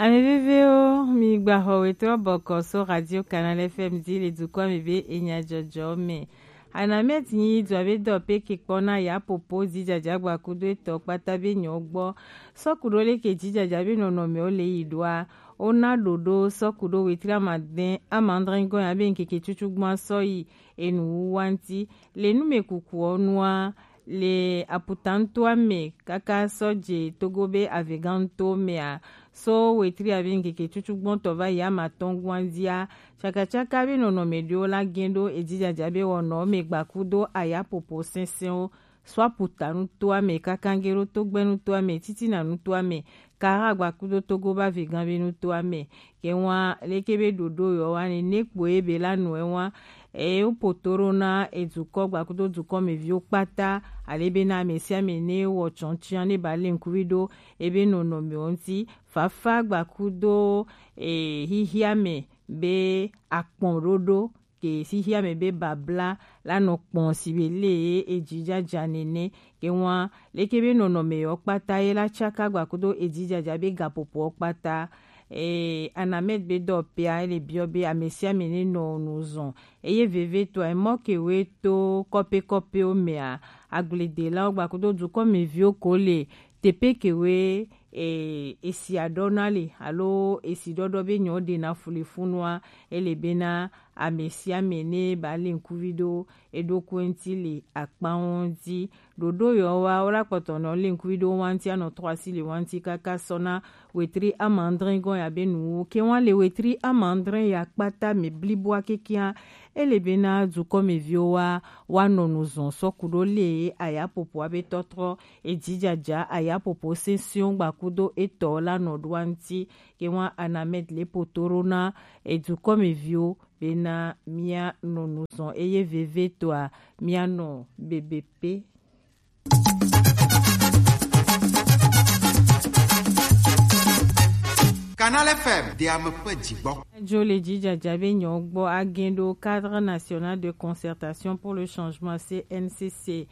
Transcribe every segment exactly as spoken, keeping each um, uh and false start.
Ame vevewo, mi gba xɔ wetɔ bɔkɔ so Radio Canal F M di le dukɔ me be enya jɔjɔ me. Anamɛt nyi dua be dɔ pe ke kpɔ na ya popo di jaja gba kudo etɔ kpata be nyɔ gbɔ. Sɔku ɖo le ke di jaja be nɔnɔme wo le yi ɖoa. Wo na ɖoɖo sɔku ɖo wetri amadɛn amandrɛngɔ ya be nkeke tutu gbɔn sɔ yi enu wu wa ŋti. Le nu me kukuɔ nua, le aputa ŋutoa me kaka sɔ dze Togo be Avegã ŋuto mea, so wetri abe ŋkeke tutugbɔtɔ va yi amatɔn gua dzia, tsakatsaka be nɔnɔme ɖewo la gɛn ɖo edzidzadza be wɔnɔ me gbaku do ayapopo sɛnsɛnwo, so aputa ŋutoa me kaka gɛn ɖo togbɛ ŋutoa me, titina ŋutoa me, Kara gbakudo Togo ba vegã be nutoa me. Ke ŋua leke be ɖoɖo yɔ wa ne ne kpo ye be la nɔe ŋua. E wo poto ɖo na edukɔ gbakudo dukɔ me viwo kpata. Ale be na ame sia ame ne wɔ tsɔntsia ne ba le ŋkuvi ɖo ebe nɔnɔme wo ŋuti. Fafa gbakudo e hihia me be akpɔn ɖoɖo ke xixia me be babla la nɔ kpɔn si be le ye edzidzadza nene. Ke ŋua leke be nɔnɔme yɔ kpata ye la tsaka gbakudo edzidzadza be gapopoɔ kpata. E, Anamed be dɔ pea ele biɔ be ame sia ame ne nɔ nu zɔn. Eye veve tɔ emɔ ke we to kɔpe kɔpewo mea, agbledelawo gbakudo dukɔ me viwo ko le tepe ke we e, esi aɖɔ na le alo esi ɖɔɖɔ be nyɔ ɖe na fulefunua, ele be na ame sia ame ne ba le ŋkuvi ɖo eɖokui ŋuti le akpawo ŋuti. Ɖoɖo yɔ wa wo la kpɔtɔ nɔ le ŋkuvi ɖo wa ŋuti anɔ trɔ asi le wa ŋuti kaka sɔ na wetri amandrɛ gɔn ya be nuwo ke wa le wetri amandrɛ ya kpata me bliboa kekea. Ele be na dukɔ me viwo wa wa nɔ nu zɔn sɔ ku ɖo le aya popoa be tɔtrɔ edzidzadza ayapopo sɛnsɛnwo gbakudo etɔ la nɔ ɖoa ŋuti ke wa Anamed le poto ɖo na edukɔ me viwo bena mia nɔ nu zɔn eye veve tɔa mia nɔ bebe pe. Canal F M de ame ƒe dzigbɔ. Dzo le dzidzadza be nyɔ gbɔ agɛn ɖo Cadre National de Concertation pour le Changement, C N C C.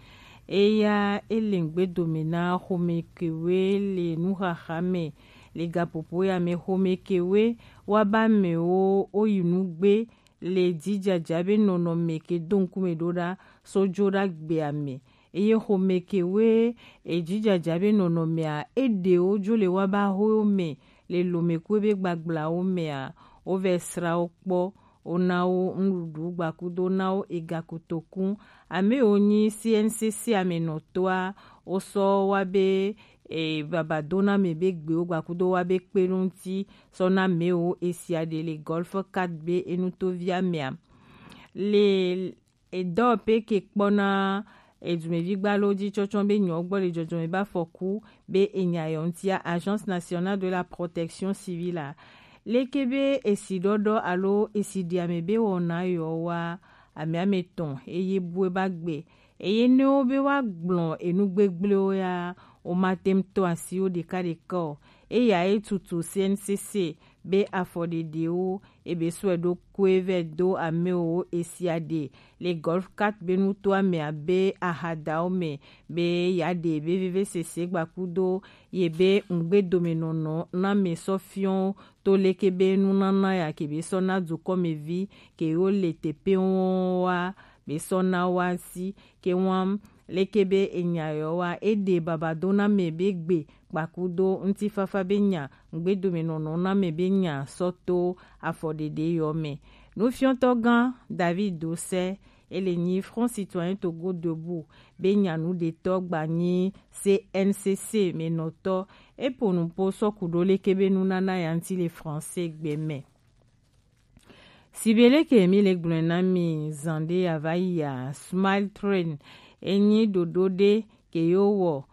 Eya ele ŋgbe dome na xome kewe le nuxaxa me le gaƒoƒo ya me. Xome kewe wa ba amewo wo yi nugbe le dzidzadza be nɔnɔme ke do ŋkume ɖo ɖa so dzo ɖa gbea me. Eye xome kewe edzidzadza be nɔnɔmea eɖewo dzo le wa ba howo me le lomekue be gbagblãwo mea, wovɛ sra wo kpɔ, wona wo nuɖuɖu gbakudo na wo ega kotoku. Ame yiwo nyi C N C C amenɔtɔa, wosɔ wa be e, babadoname be gbewo gbakudo wa be kpe ɖo ŋuti sɔ na mewo esia ɖe le Golf Cat be enutovia mea. Le edɔ pe ke kpɔna edumevi gbalo dzi tsɔtsɔ be nyɔ gbɔ le dzɔdzɔme be afɔku be enya yɔ ŋutia, Agence Nationale de la Protection Civile a. Leke be esi ɖɔɖɔ alo esi ɖi ame be wɔna yɔ wa, ame ame tɔn eye bue ba gbe. Eye ne wo be wa gblɔ enu gbegblẽwo ya, womate ŋu to asi wo ɖekaɖeka o. Eya ye tutu C N C C be afɔɖeɖewo ebe sɔe ɖo koe vɛ do amewo esia ɖe le Golf Cat be nutoa me abe ahadawo me be ya ɖe be vevesese gbakudo ye be ŋugbedomenɔnɔ na me sɔ fiɔ to leke be nunana ya ke be sɔ na dukɔmevi ke wo le teƒe wɔn wa be sɔ na wa si ke wɔm leke be enya yɔ wa eɖe babadoname be gbe kpakudo ŋutifafa be nya ŋugbedomenɔnɔ na me be nya sɔ to afɔɖeɖe yɔ me. Nufiɔtɔ gã David Dosɛ ele nyi Front Citoyen Togo Debout be nyanuɖetɔ gba nyi C N C C me nɔtɔ. Epo nupo sɔku ɖo leke be nunana ya ŋuti le français gbe me. Sibeleke mi le gblɔe na mi zan ɖe ya va yi ya, Smile Train enyi ɖoɖo ɖe ke yo wɔ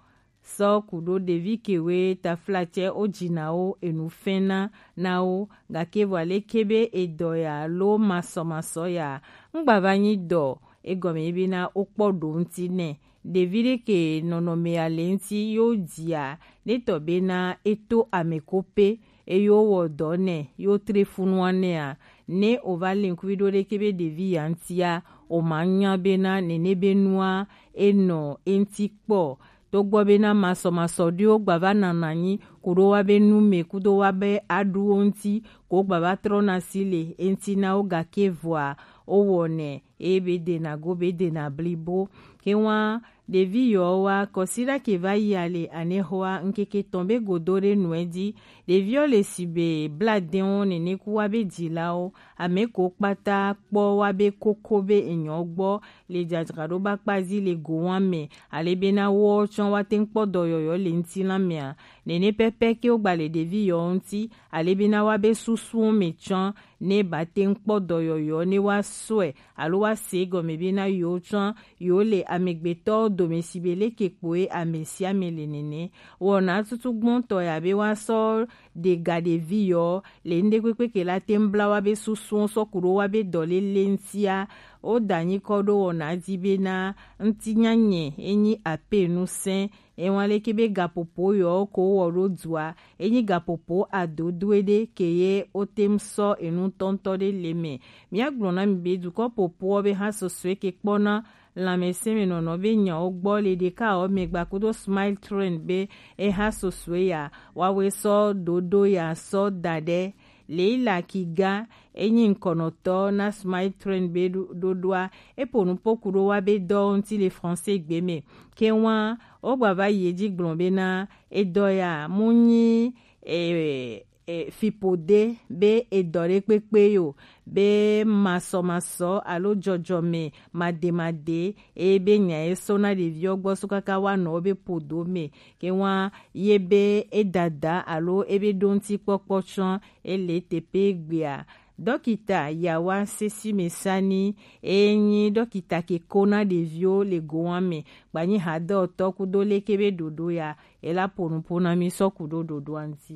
sɔ ku ɖo ɖevi kewe taflatsɛ wo dzina wo enu fɛna na wo gake vɔ aleke be edɔ ya lo masɔmasɔ ya ŋgba va nyi dɔ egɔme ye be na wo kpɔ ɖo ŋuti nɛ. Ɖevi ɖe ke nɔnɔme ya le ŋuti yo dzia ne tɔ be na eto ame ko pe eye wo wɔ dɔ nɛ yo tre funu anɛ a ne o va le ŋkuvi ɖo ɖeke be ɖevi ya ŋutia o ma nya be na nene be nua e nɔ eŋuti kpɔ. to gbɔ bena masɔmasɔ ɖewo gba va nana anyi kuɖo wa be nu me kudo wa be aɖuwo ŋuti, ko gba va trɔna si le eŋuti na wo, gake vɔa wo wɔnɛ eye be dena go be dena blibo. Ke wa ɖevi yɔ wa kɔsiɖa ke va yi ale anexɔa ŋkeke tɔn be godo ɖe nuɛ ji. Ɖeviɔ le si be bla dɛn wo nene ku wa be jilawo, ame ko kpata kpɔ wa be koko be enyɔ gbɔ le jajraɖo ba kpazi le go wa me, ale bena wo tsɔ wa te ŋkpɔ dɔyɔyɔ le ŋuti la mea. Nene pɛpɛ ke wo gba le ɖevi yɔ ŋuti, ale bena wa be susuwo me tsɔ ne ba te ŋkpɔ dɔyɔyɔ ne wa sɔe alo wa se gɔme bena yewo tsɔ yewo le amegbetɔwo dome si be leke kpoe ame sia ame le nene. Wɔna tutu gbɔntɔ ya be wa sɔ ɖe ga ɖevi yɔ le ŋɖe kpekpe ke la te ŋbla wa be susuwo sɔ kuɖo wa be dɔ lele ŋutia. Wo da nyikɔ ɖo wɔna di bena ŋutinyanyɛ enyi ape nu sɛn. Ewa leke be gapopo yɔ ko wɔ ɖo dua, enyi gapopo adodoe ɖe ke ye wo te ŋ sɔ enu tɔntɔ ɖe le me. Mia gblɔ na mi be dukɔ popoɔ be ha sɔsɔe ke kpɔna lãmesẽmenɔnɔ be nyawo gbɔ le ɖeka ɔ megba kudo Smile Trend be eha sɔsɔe ya wawe sɔ ɖoɖo ya sɔ da ɖe. Leila Kiga enyi ŋkɔnɔtɔ na Smile Trend be ɖo- ɖoɖoa, epo nupo kuɖo wa be dɔ ŋuti le français gbe me. Ke wa wo gba va yi edzi gblɔ bena edɔ ya mu nyi e, e, fiƒode be edɔ ɖe kpekpe yo, be masɔmasɔ alo dzɔdzɔme mademade, eye be nya ye sɔ na ɖeviwo gbɔ so kaka wa nɔ wo be ƒodo me. Ke wa ye be edada alo ebe ɖo ŋuti kpɔkpɔ tsɔ ele teƒe gbea. Dɔkita Yawa Sesi Mesani, enyi dɔkita ke ko na ɖeviwo le gowa me, gbanyi hadɔtɔ kudo leke be ɖoɖo ya, ela ƒo nuƒo na mi sɔ kuɖo ɖoɖoa ŋuti.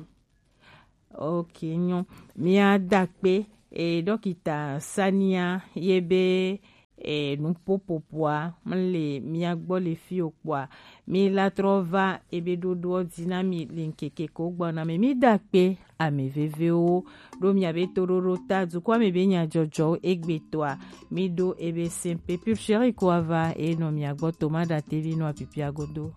Ok, nyɔ. Mia da kpe, e, dɔkita Sania ye be, e, nuƒoƒoƒoa mle mia gbɔ le fi o kpɔa, mi la trɔ va ebe ɖoɖoɔ dzi na mi le ŋkeke ko gbɔna me. Mi da kpe ame vevewo ɖo mia be toɖoɖo ta dukɔa me be nyadzɔdzɔwo egbetɔa. Mi ɖo ebe sɛnpe pure chérie ko ava e nɔ mia gbɔ to ma da tevi nɔ apipia godo.